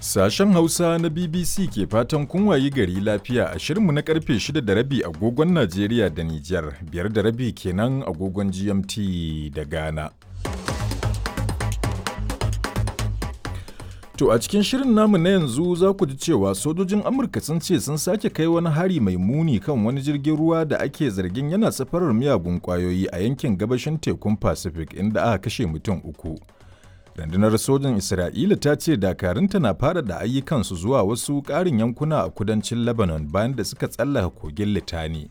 Sashen Hausa na BBC ke fatan kun wayi gari lafiya a shirinmu na karfe 6:30 agogon Najeriya da Nijar, 5:30 kenan agogon GMT da Ghana. To a cikin shirin namu na yanzu za ku ji cewa sojojin Amurka sun ce sun sake kai wani hari mai muni kan wani jirgin ruwa da ake zargin yana safarar miyagun kwayoyi a yankin gabashin tekun Pacific inda aka kashe mutum uku. Rundunar sojin Isra'ila ta ce dakarunta na fara da ayyukansu zuwa wasu ƙarin yankuna a kudancin Lebanon bayan da suka tsallaka kogin Litani.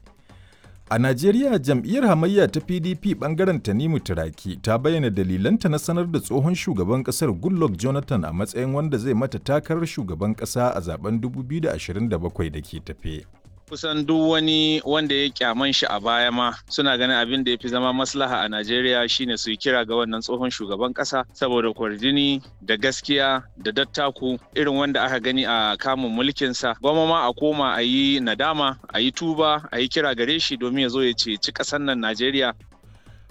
A Najeriya jam'iyyar hamayya ta PDP bangaren Tanimu Turaki ta bayyana dalilanta na sanar da tsohon shugaban kasar Goodluck Jonathan a matsayin wanda zai mata takarar shugaban kasa a zaben 2027 da ke tafe. Kusan duk wani wanda ya kyaman shi a baya ma suna ganin abin da ya fi zama maslaha a Najeriya shine su yi kira ga wannan tsohon shugaban kasa saboda kwarjini da gaskiya da dattaku irin wanda aka gani a kamun mulkinsa. Gwamma ma a koma a yi nadama, a yi tuba, a yi kira gare shi domin ya zo ya ceci ƙasar nan Najeriya.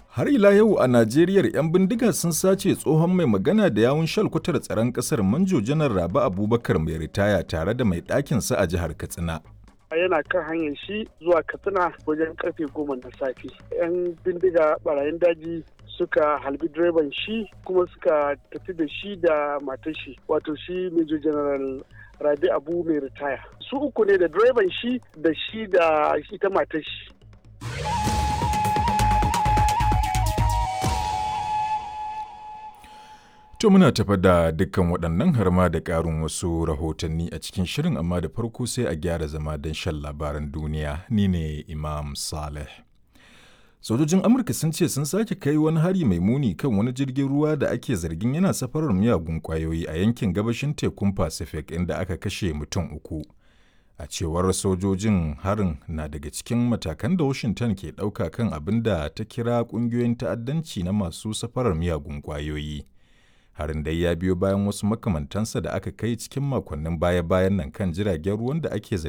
Har ila yau a Najeriya 'yan bindiga sun sace tsohon mai magana da yawun shalkwatar tsaron ƙasar Manjo Janar Rabi Abubakar mai ritaya tare da mai ɗakinsa a jihar Katsina. Yana kan hanyar shi zuwa Katsina wajen karfe 10 na safe, yan bindiga barayin daji suka halbi direban shi kuma suka tafi da shi da matar shi, wato shi Major General Rabi Abu mai ritaya. Su uku ne, da direban shi da shi da ita matar shi. To muna tafa da dukkan waɗannan har ma da ƙarin wasu rahotanni a cikin shirin, amma da farko sai a gyara zama don shan labaran duniya. Ni ne Imam Saleh. Sojojin Amurka sun ce sun sake kai wani hari mai muni kan wani jirgin ruwa da ake zargin yana safarar miyagun ƙwayoyi a yankin gabashin tekun Pacific inda aka kashe mutum uku. A cewar sojojin, harin na daga cikin matakan da Washington ke ɗauka kan abin da ta kira ƙungiyoyin ta'addanci na masu safarar miyagun ƙwayoyi. Harin dai ya biyo bayan wasu makamantansa da aka kai cikin makonnin baya-bayan nan kan jiragen ruwan da ake zargi